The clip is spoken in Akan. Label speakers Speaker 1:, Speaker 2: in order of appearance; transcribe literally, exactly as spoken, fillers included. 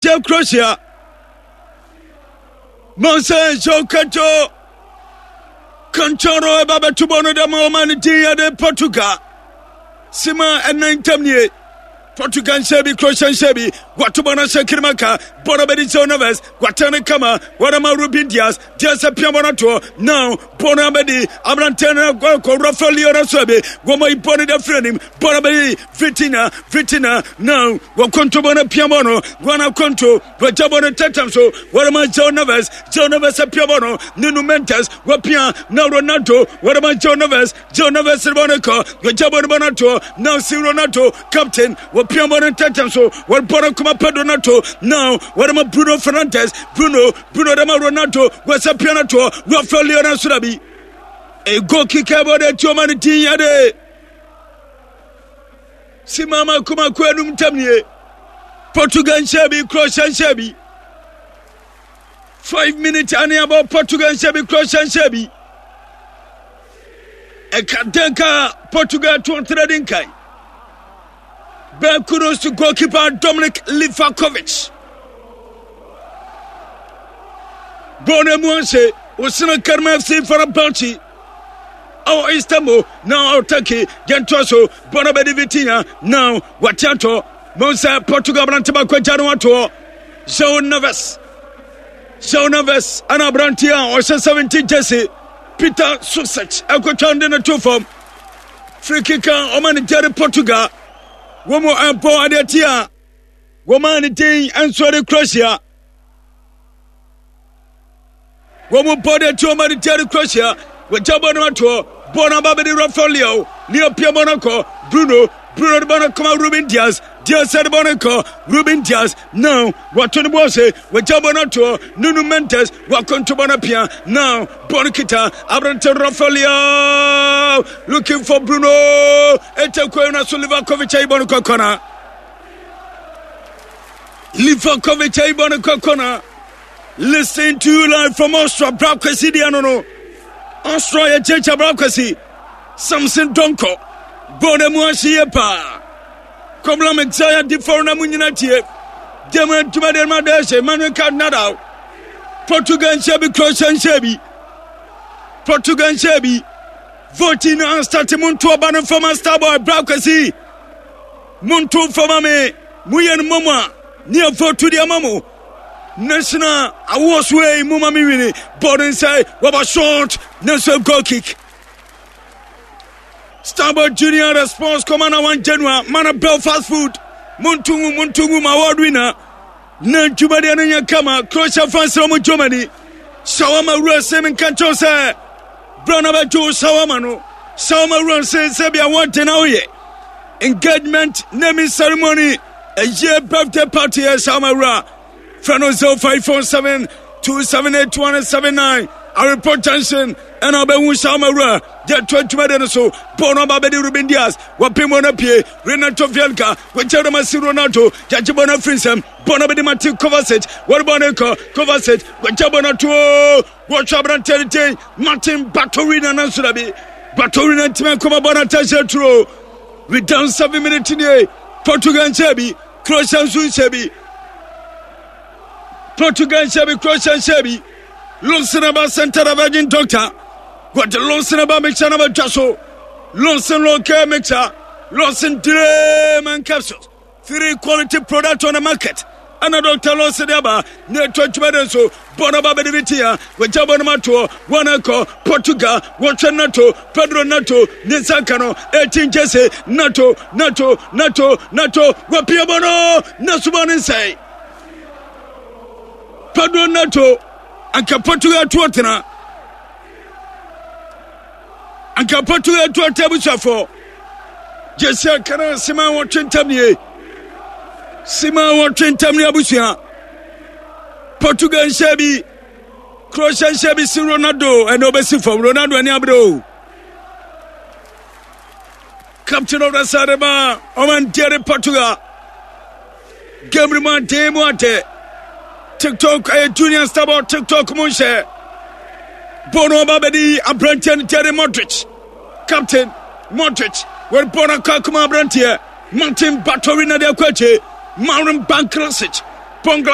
Speaker 1: Tia Croatia. Monse Jokato Kanchoro ɛba bɛto bɔ no dɛm ɔma no din yɛde Portugal. Sima ɛnan ntam nie. Portugal nhyɛ bi, Croatia nhyɛ bi. Wato bɔ no ahyɛ Kirimaka. Bɔ no bɛdi João Neves. Watɛn no kama. Wɔde Ruben Dias. Dias apia bɔ no atoɔ. Now bɔ no abɛdi aberanteɛ no akɔ Rafael Leao so bi. Wɔma yi bɔ no da firi anim. Bɔ no bɛdi Vitinha. Vitinha now wɔkonto bɔ no apia bɔ no. Wɔn akonto. Wɔgya bɔ no tɛtɛm so. Wɔde ma João Neves. João Neves apia bɔ no. Nuno Mendes wapia. Now Ronaldo. Wɔde ma João Neves. João Neves bɔ no kɔ. Wɔgya bɔ no bɔ no atoɔ. Now si Ronaldo captain. Wɔpia bɔ no tɛtɛm so. Wɔbɔ no kɔma Pedro Neto. Now wɔde ma Bruno Fernandes. Bruno Bruno de ma Ronaldo. Wɔsɛ pia no toɔ. Rafael Leao no so bi. A goal kick bɔ de tuo ma no din yɛde. Simama kuma ko enum ntam nie. Portugal nhyɛ bi, Croatia nhyɛ bi. Five minutes ane abɔ Portugal nhyɛ bi, Croatia nhyɛ bi. Ɛka den ka Portugal to ɔtena di nkan. Ben kudos to goalkeeper Dominic Livakovic. Bɔɔl no mu ɔnhyɛ Osina Karma F C Fenerbahce ɛwɔ Istanbul na Turkey yɛntoa so. Bɔɔl no bɛdi Vitinha. Now wate atɔ mo sɛ Portugal aberante baako agya no atoɔ João Neves. João Neves ɛna aberante a ɔhyɛ seventeen jersey Peter Susic ɛkɔtwa de no to fam. Free kick a ɔma no gyare Portugal. Wɔn mu ɛbɔ adeɛ ti a wɔma ne din nso de Croatia. Wɔn mu bɔ de ti wɔn de gyare Croatia. Wɔgya bɔ no atoɔ. Bɔ no aba bɛde Rafael Leao. Leo pia bɔ no kɔ Bruno. Bruno de bɔ no kɔma Ruben Dias. Dias de bɔ no kɔ Ruben Dias. Now wɔto no bɔ ase. Wɔgya bɔ no atoɔ. Nuno Mendes wɔakonto bɔ no pia. Now bɔ no kita aberante Rafael Leao looking for Bruno. Ɛtɛ kwan no so Livakovic ayi bɔ no kɔ kɔna. Livakovic ayi bɔ no kɔ kɔna. Listen to you live from Austria. Bra Kwesi deɛ no no. Austria yɛ kyekye Bra Kwesi. Samson Donko. Bɔɔl no mu ahye yie paa. Kɔbla Mexia di fɔrɔ na mu nyina tie. Dɛm adwuma deɛ ma dɛ hyɛ Emmanuel Card Nadal. Portugal nhyɛ bi, Croatia nhyɛ bi. Portugal nhyɛ bi. Voting no astart mu nto ɔba no fama Starboy Bra Kwesi. Monto fama me. Moyɛ no mmom a ne yɛ vote deɛ ama mo. National awards wei mu ma me win. Bɔɔl no nsɛe wɔba short nanso goal kick. Starboy Junior response kɔma one January mana Belfast food. Monto ngu monto ngu ma award winner. Na dwumadeɛ no nyɛ kama. Croatia fans na ɔmo Germany. Shawarma wura sɛ menka nkyɛw sɛ berɛ na bɛgye wo shawarma no. Shawarma wura sɛ sɛ bia wɔde na woyɛ engagement naming ceremony, ɛyɛ birthday party, yɛ shawarma wura. Frɛ no zero five four seven two seven eight one seven nine, Areport Junction ɛna wobɛhu shawarma wura. Yɛto adwumade no so. Bɔɔl no aba bɛde Ruben Dias. Wɔpem bɔ no apue Renato Veiga. Wɔgya no ma si Ronaldo. Yɛgye bɔ no afiri nsɛm. Bɔɔl no bɛde Mateo Kovacic. Wɔde bɔɔl no kɔ Kovacic. Wɔgya bɔ no ato wɔtwa aberanteɛ no din Martin Baturina nanso da bi Baturina ntumi nkɔma bɔ no atahyɛ turo. We down seven minutes nie. Portugal nhyɛ bi, Croatia nso nhyɛ bi. Portugal nhyɛ bi, Croatia nhyɛ bi. Lonsin aba center of virgin doctor. Wɔde Lonsin aba mixture na bɛtwa so. Lonsin local mixture, Lonsin dream and capsules, three quality product on the market ɛna Doctor Lonsin de aba na ɛtɔ adwuma de nso. Bɔ no ba bɛde bi tia. Wɔgya bɔ no ma toɔ wɔn akɔ Portugal. Wɔhwɛ Nato Pedro Nato ne nsa nka no eighteen jersey. Nato Nato Nato Nato wɔpia bɔ no na sobɔ ne nsɛe. Pedro Nato anka Portugal toɔ tena anka Portugal toɔ tena. Abusuafoɔ gyesi akana sima wɔtwe ntam nie. Sima wɔtwe ntam nie. Abusua, Portugal nhyɛ bi, Croatia nhyɛ bi. Si Ronaldo ɛna ɔbɛsi fam. Ronaldo ani abere o. Captain of the side ma ɔman deɛ Portugal. Game no mu ade mu ade. TikTok ɛyɛ Junior Starboy TikTok mu nhyɛ. Bɔɔl no ɔba bɛdi aberanteɛ no Jerry Modric. Captain Modric wɔde bɔɔl no akɔ akoma aberanteɛ Martin Baturina de akɔ akyi Marin Bankrasic. Pongla.